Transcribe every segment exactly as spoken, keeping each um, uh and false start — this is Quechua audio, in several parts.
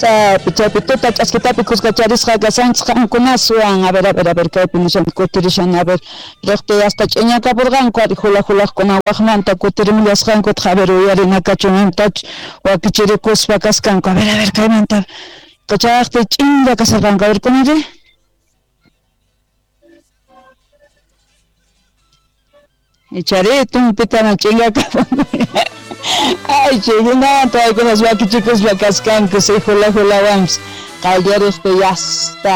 Chaypi chaypi tuta ch'askitapi kuskacharisqa kashanchis qankunaswan. A ver, a ver, a ver, kaypi nishan kutirishan, a ver, riqti hasta ch'iñakapurqanku ari hula hulaqkuna waqmanta kutirimullasqankutaq, a ver, uyarinakachun imtachus wakichirikuspa kaskanku. A ver, a ver, kaymanta chayaqti ch'inlla kasharqanku, a ver, kunanri. Ichari tumpitana ch'inllakapunku. Ay, chaykunata paykunas wakichikuspa kaskanku, si hula hulawanpis qallariqpi yasta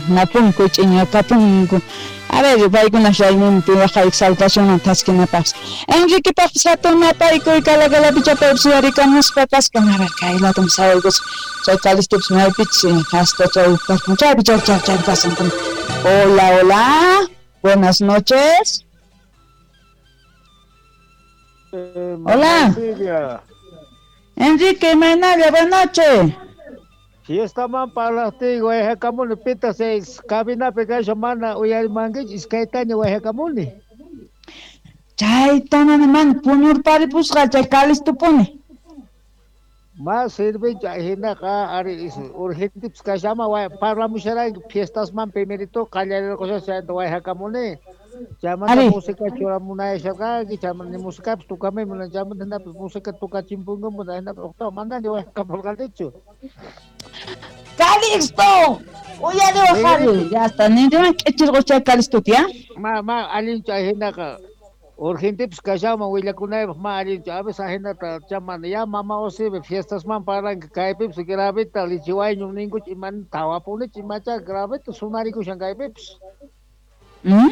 napunku ch'iñakapunku. A ver, paykunas rayminpi waqay exaltacionman thaskinapaqpis. Enriquepaqpis hatun napaykuy Calacalapichapaypis uyarikamuspa kaskan. A ver, kay latum sawaykusqa chay Calistopis maypichus hasta chay chaypi chay chay chay kasan. Hola, hola, buenas noches. Eh, Hola. Silvia. Enrique, imaynalla, buenas noches. Fiestaman parlaqtiy wayhakamuni pita seis cabinapi kasha mana uyarimankichu iskaytaña wayhakamuni. Chayta mana mana puñurparipusqa chay Calistopuni. Ma sirvinchu hinaqa ari urgentepis kashama parlamusharanki fiestasman primerito qallarirqusha chayta wayhakamuni. Chaymanta música churamunayasharqanki, chaymanta musicapis tukamuyman, chaymanta hinapis música tukachimpunkuman, hinapis uqtaqa manani wayhakamurqanichu. ¡Calixto! Uyariwaq ari, ya está, ninriwan k'ichirqus chay Calixtota, ya? Ma ma allinchu hinaqa urgentepis kashaman willakunaypaq ma allinchu, a veces ahinata chamana ya mama Osibe fiestasman parlanki kaypipis gravita lichiwayñum ninkuchu imani tawapunichu imacha gravita sunarikushan kaypipis. Mm,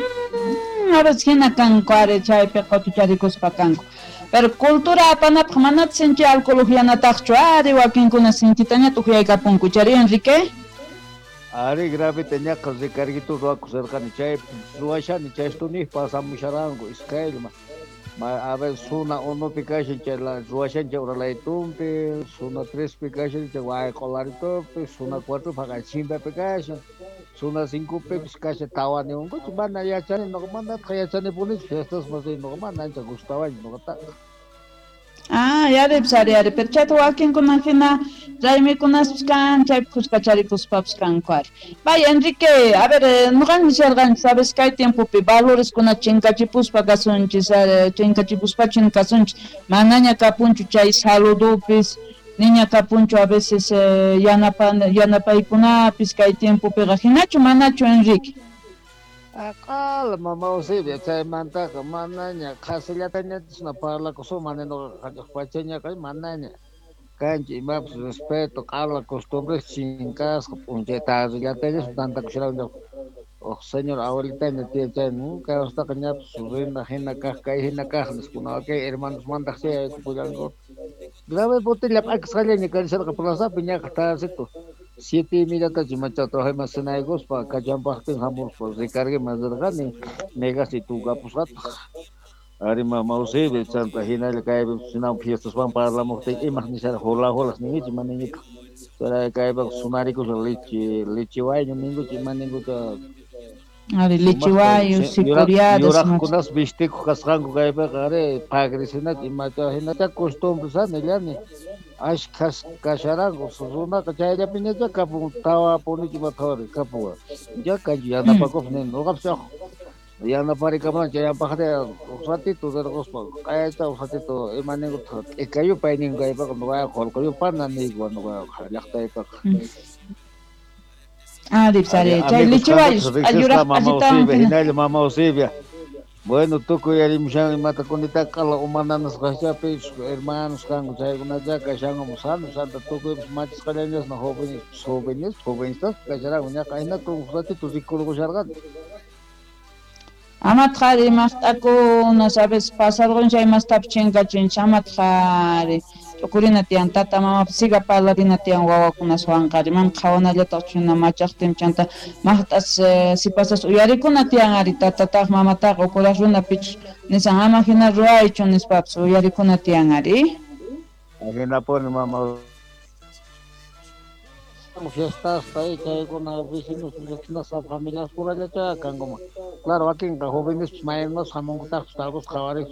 a veces hina kanku ari chaypi qutucharikuspa kanku. Pero cultura apanapaq manataq sinchi alcohol uqyanataqchu ari wakinkuna sinchitaña tuqyaykapunku chari Enrique. Ari gravita ñaqa recarguito ruwakusharqani chaypi ruwashani chaystuniq pasamusharanku iskaylma. Ma a ver zona unopi kashan chay ruwashan chay uralaytumpi, zona trespi kashan chay wayq'ularitupi, zona cuatropi haqay chimpapi kashan, zona cincopipis kashan tawani unkuchu mana yachani nuqa manataq yachanipunichu fiestasman riy nuqa mana ancha gustawanchu nuqataqa. Ah, yaripis ari ari, pero chayta wakinkuna hina raymikunaspis kan, chaypi kuskacharikuspapas kanku ari. Vaya Enrique, a ver, nuqan nisharqanchis, sabes, kay tiempopi valoreskuna chinkachipuspa kasunchis, chinkachipuspachu kasunchis, manaña kapunchu chay saludupis, niña kapunchu a veces eh, yanapa, yanapaykunapis kay tiempopiqa, hinachu manachu Enrique? Aqala mama Eusebia chaymantaqa manaña qhasillatañatisna parlakusunman nuqaqa pachañaqa manaña kanchu imapis respeto q'ala costumbres chinkasqa p'unchay tardellatañas tantakusharanku uq señor abuelitaña tiyan chay kaywastaqa ñapis rina hina kaq kay hina kaq nispa kay hermanos mandaq chay yaykupullanku grave botella p'akisqallaña karisharqa plazapi ñaqa tardecito siete y mediatachu imacha trabajayman cenaykuspa kachampaqtin hamuspa recargueman rirqani negasi tukapusqataq ari mama Eusebia chanta hinalla kaypi sinam fiestaswan parlamuqtin imaq nishara hula hulas ninkichu ima ninkichu chay kaypiqa sunarikusha leche leche wayñu ninkuchu ima ninkucha. Ari lichiwayu, sicuriadas. Yuraqkunas vistikuq kasqanku kaypiqa ari pagrisinachu imacha hinacha costumbres nillani ashkhas kasharanku runaqa chayllapiñacha kapun tawapunichu ima thawari kapuwan ya kanchu yanapakuq nini nuqapis yanaparikamunan chayapaqri ratito rirquspa q'ayata ratito ima ninkutaq t'ikayupay ninku kaypiqa nuqaqa qullqiyupana niyku nuqaqa llaqtaypiqa. Ari, ari, chay lichiwayu, yuraq mama Eusebia, hinalla mama Eusebia. Bueno, tukuy yarimushan imata kunitaqa q'ala umananasqachapi hermanos kanku chaykunacha kashanku sano santa tukuypis machisqallañasna jóvenes jóvenes jovencitas kasharanku ñaqa hinata uq ratito rikurqusharqani. Amataq ari maqt'akuna sabes pasarqun chay mastapis chinkachinchis amataq ari t'ukurina tiyan tata mamapis siga parlarina tiyan wawakunaswanqa ari mana qhawanallataqchu hina machaqtin chanta maqt'as sipasas uyarikuna tiyan ari tatataq mamataqa ukuraq runa pichus nisan ama hina ruwaychu nispapis uyarikuna tiyan ari. Hinapuni mama. Fiestas chaykuna vecinos vecinas familias purallacha kankuman. Claro, wakinqa jóvenes maynos hamunkutaqpis tal vez qhawariq.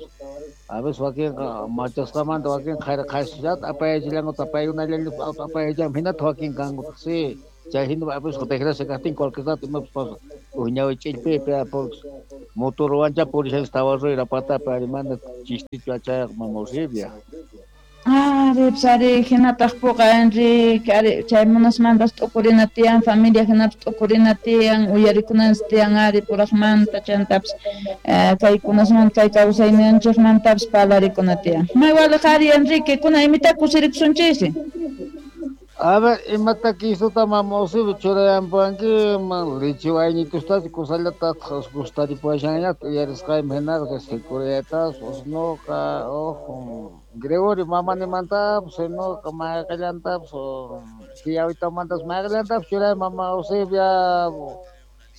A veces wakinqa machasqamanta wakin qhari qhasillata apayachillankuta paykunallalla apayachan hinata wakin kankutaq sí. Chay hina a veces desgracia kaqtin cualquier rato imapas pasa. Uj ñawi ch'illpipi porque motorwancha purishanchis tawa ruyra patapi ari mana chistichu achayqa mama Eusebia. Ari, ari, hinataq puqa Enrique, ari, chay munasmantas t'ukurina tiyan, familia hinapas t'ukurina tiyan, uyarikunanchis tiyan ari puraqmanta, chantapis kaykunasmanta kay kawsayninchikmantapis parlarikuna tiyan. May waliq ari Enrique, kuna imita kusirikusunchis? A ver, imata kisuta mama Eusebia churayampuwankiman lichi wayñitustachu kusallataq gustaripuwashanñataq uyarisqayman hinaqa securitas usnuqa ojo Gregorio mamanimantapas sinuqa mayqillantapas tiyawitamantapas mayqillantapas churay mama Eusebia.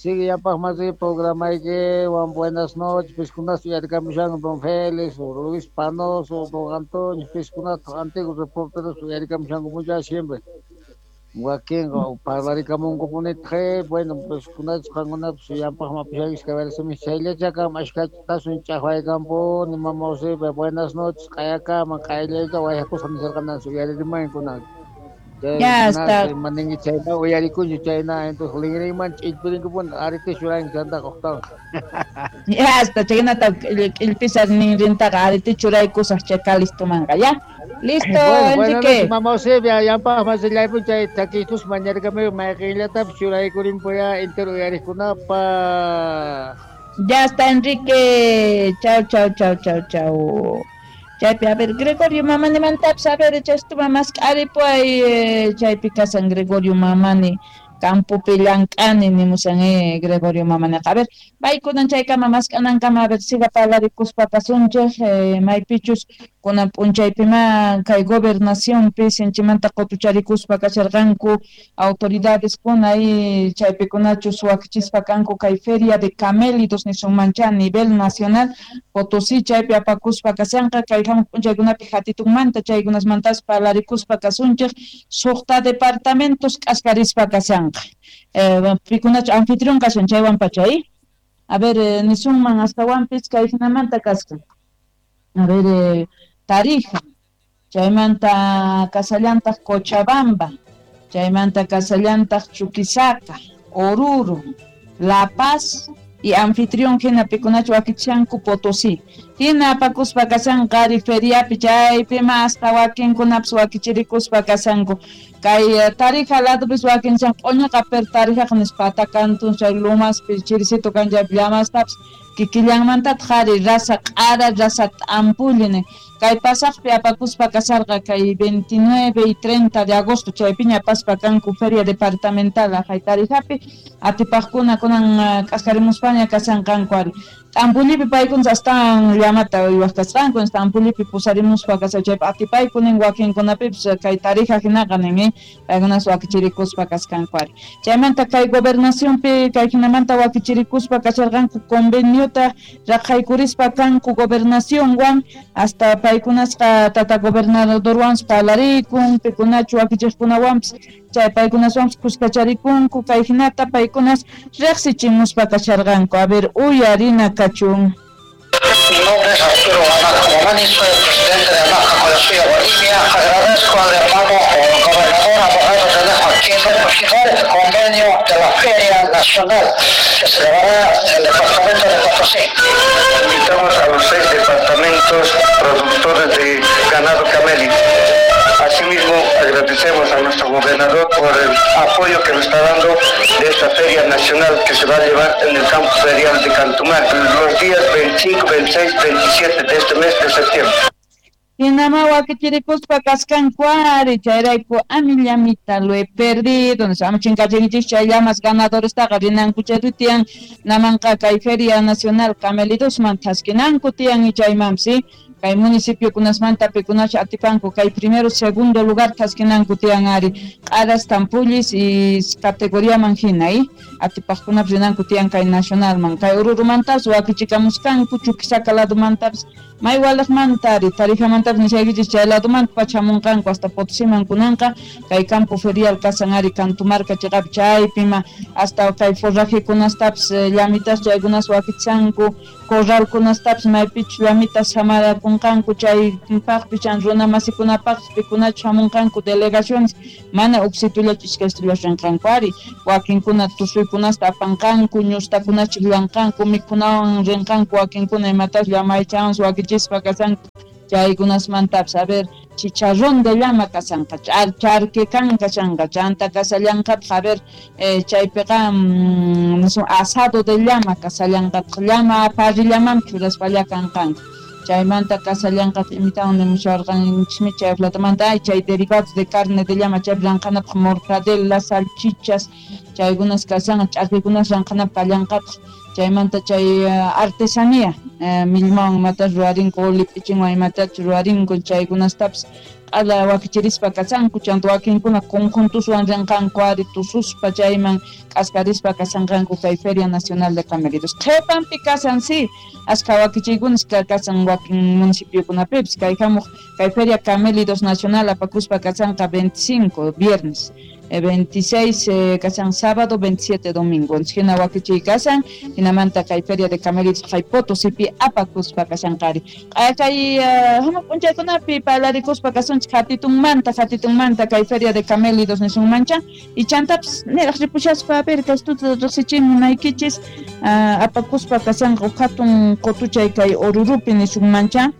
Sigue yapaqmasi programaykiwan buenas noches piskunas uyarikamushanku don Félix, Luis Panoso, don Antonio, piskunata antiguos reporteros uyarikamushanku mucha siempre. Wakinqa parlarikamunkupunitaq, bueno, pues kunachus qankunapas yampaqman pushankichis kawarisimi chayllachakama ashkatasun ch'aqwaykampuni mama Eusebia, buenas noches q'ayakama q'ayllayta wayaqusqa nisharqananchis uyaririmankunan. Ya está. Maningi chayna uyarikunchu chayna entonces linrinman ch'illpirinkupuni arite churanki chantaqa uqtaqa. Ya está, chaynata k'illpisa ninrintaqa arite churaykusaq chay kalistumanqa, ya. Listo, bueno, Enrique. Buenas noches, mama Eusebia, yampaq masillaypun chay takitus mañarkamiyu mayqinllatapis churaykurinpuya entero uyariqkunapaq. Ya está, Enrique. Chau, chau, chau, chau, chau. Chaypi, a ver, Gregorio Mamanimantapas, a ver, chaystuman mask'aripuay, chaypi kasan Gregorio Mamani, campopi llank'ani nimusan eh, Gregorio Mamaniqa. A ver, paykunan chaykama mask'anankama, a ver, siga parlarikuspa kasunchik, eh, maypichus kunan p'unchaypima kay gobernacionpi sinchimanta qutucharikuspa kasharqanku autoridades kuna y chaypikunachus wakichispa kanku kay feria de camélidos nisunmancha a nivel nacional Potosí chaypi apakuspa kashanqa kay hamuq p'unchaykunapi hatitunmanta chaykunasmantas parlarikuspa kasunchik suqta departamentos k'askarispa kashanqa eh, pikunachu anfitrión kashan chaywan pacha eh? A ver, eh, nisunman astawanpis kay hinamanta kaskan. A ver, eh, Tarija, chaymanta kasallantaq Cochabamba, chaymanta kasallantaq Chuquisaca, Oruro, La Paz y anfitrión hina pikunachu wakichanku Potosí. Hina apakuspa kashanqa ari feriapi chaypi hasta wakinkunapas wakichirikuspa kashanku. Kay Tarija ladupis wakinchan q'uñiqa per Tarijaqa nispa atakantun chay lumaspi chirisito kan chaypi llamastapas kikillanmantataq ari rasa q'ara rasa t'ampulli nin. Kay pasaqpi apakuspa kasharqa kay veintinueve y treinta de agosto chaypiña apaspa kanku feria departamental aqhay Tarijapi atipaqkuna kunan k'askarimuspaña kashanqanku ari. T'ampullipi paykunas astawan llamata uywaq kasqanku t'ampullipi pusarimuspa kashan chaypi atipayku nin wakinkunapipis kay Tarija hinaqa nin eh, paykunas wakichirikuspa kasqanku ari. Chaymanta kay gobernacionpi kay hinamanta wakichirikuspa kasharqanku conveniota raqhaykurispa kanku gobernacionwan hasta paykunasqa tata gobernadorwanpas parlarikun pikunachu wakichiqkunawanpas chay paykunaswanpas kuskacharikunku kay hinata paykunas riqsichimuspa kasharqanku. A ver, uyarina kachun. Mi nombre es Arturo Guamani, soy el presidente de AMAJA Collasuyo Bolivia. Agradezco al hermano gobernador abogado René Joaquín por firmar este convenio de la Feria Nacional que se llevará en el departamento de Potosí. Invitamos a los seis departamentos productores de ganado camélido. Asimismo, agradecemos a nuestro gobernador por el apoyo que nos está dando de esta Feria Nacional que se va a llevar en el campo ferial de Cantumaria los días veinticinco, veintiséis, veintisiete de este mes de septiembre. Hinama wakichirikuspa kasqanku ari chayrayku amillamita lo he perdido nispa chinkachinkichis chay llamas ganadorestaqa rinanku chay tiyan namanqa kay Feria Nacional Camelidosman thaskinanku tiyan y chaymansi Kay municipiokunasmanta pikunacha atipanku kay primero segundo lugar thaskinanku tiyan ari q'aras tampullis y categoriaman hina y atipaqkunapis rinanku tiyan kay nacionalman kay Orurumantapas wakichikamuskanku Chuquisaca ladumantapas may walaqmanta ari Tarijamantapas nishaykichis chay ladumanta pachamunqanku hasta Potosiman kunanqa kay campo ferial kasan ari Cantumarca chiqapi chaypima hasta kay forrajekunastapis llamitas chaykunas wakichanku corralkunastapis maypichus llamitas samarakunqanku chaypaqpi chan runa masikunapaqpis pikunachu hamunqanku delegaciones mana uksitullachu iskaystullachu rinqanku ari wakinkuna tusuykunasta apanqanku ñustakunachu llanqanku mikhunawan rinqanku wakinkuna imatas llamaychawan wakichispa kasanku chaykunasmantapis a ver chicharrón de llama kasanqa charque kanka chanqa chanta kasallanqataq a ver eh, chaypiqa mm, asado de llama kasallanqataq llama parrillaman churaspalla kanqanku chaymanta kasallanqataq imitawan nimusharqanchikmi chay platamanta ay chay derivados de carne de llama chaypi ranqanapaq mortadela salchichas chaykunas kasanqa ch'arkikunas ranqanapaq kallanqataq chaymanta chay uh, artesanía uh, millmawan imatas ruwarinku lip'ichinwan imatachus ruwarinku chaykunastapis q'ala wakichirispa kasanku chanta wakinkuna conjuntuswan rinqanku ari tususpa chayman k'askarispa kasanqanku kay Feria Nacional de Camelidos qhipanpi kasan si askha wakichiykunas kasan wakin municipiokunapipis kay hamuq kay Feria Camelidos Nacional apakuspa kasanqa veinticinco viernes veintiséis eh, kasan sábado, veintisiete domingo. Hina wakichiy kasan, hinamanta kay Feria de Camelidos kay Potosipi apakuspa kasanqari. Kay hamuq p'unchaykunapi parlarikuspa kasunchik hatitunmanta, hatitunmanta kay Feria de Camelidos nisunmancha. Y chantapis niraq ripushaspa a ver kaystuta riqsichimunaykichis uh, apakuspa kasanqa huk hatun qutuchay kay Orurupi nisunmancha.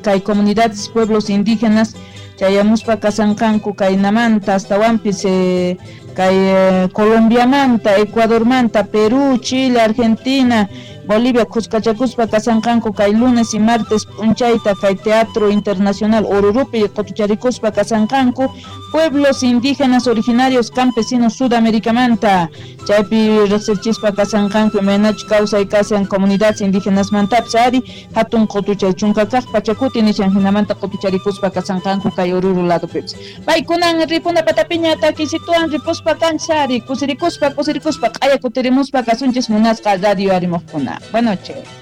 Kay comunidades, pueblos indígenas chayamuspa kasanqanku kaynamanta astawanpis eh, kay eh, Colombiamanta, Ecuadormanta, Perú, Chile, Argentina, Bolivia khuskachakuspa kasanqanku kay lunes y martes p'unchayta kay Teatro Internacional Orurupi qutucharikuspa kasanqanku pueblos indígenas originarios campesinos Sudaméricamanta chaypi riqsichispa kasanqanku imaynachu kawsay kasan comunidades indígenas mantapis ari hatun qutuchay chunka kaq pachakuti nishan hinamanta qutucharikuspa kasanqanku kay Oruro ladupipis paykunan ripuna patapiña takisituwan ripuspa kanchis ari kusirikuspa kusirikuspa q'aya kutirimuspa kasunchis munasqa radio arimuqkuna. Buenas noches.